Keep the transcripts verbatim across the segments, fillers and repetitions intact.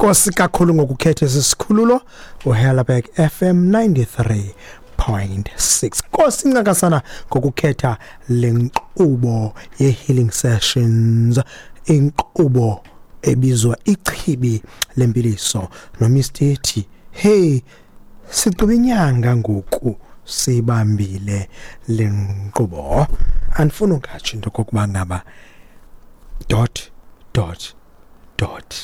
Nkosi kakhulu ngokukhetha esi sikhululo uHellerberg F M ninety-three point six. Nkosi ncakasana ngokukhetha le nkqubo ye-Healing Sessions, inkqubo ebizwa Ichibi Lempiliso noMister T. Hey, sigqiba inyanga ngoku sibambile le nkqubo. Andifuni ungatsho into okokuba ngaba dot dot dot.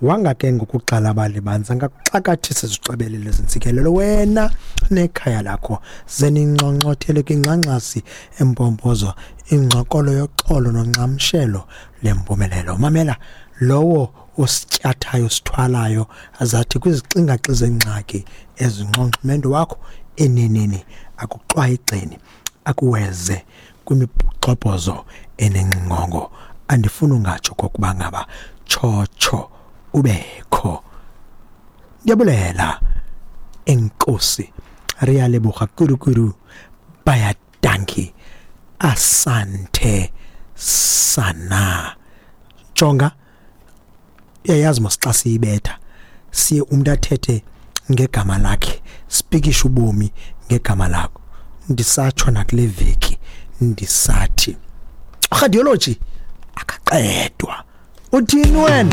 Wanga ke ngokuxhalaba libanzi angakuxakathisa izixebelele zentsikelelo wena nekhaya lakho, ze ninxonxothele kwingxangxasi empompozo ingxokolo yoxolo nonxamshelo lempumelelo. Mamela lowo osityathayo, sithwalayo, azathi kwizixingaxi zengxaki ezinxonxumendo wakho, eneneni akuxwaye igxeni, akuweze kwimigxobhozo enengxingongo. Andifuni ungatsho kokuba ngaba tshotsho ubekho. Ndiyabulela, enkosi, re a leboga kudu-kudu, baie dankie, asante sana. Jonga, uyayazi mos, xa siyibetha siye umntu athethe ngegama lakhe, sipikishe ubomi ngegama lakho. Ndisatsho nakule veki, ndisathi radiology akaqedwa. Uthini wena?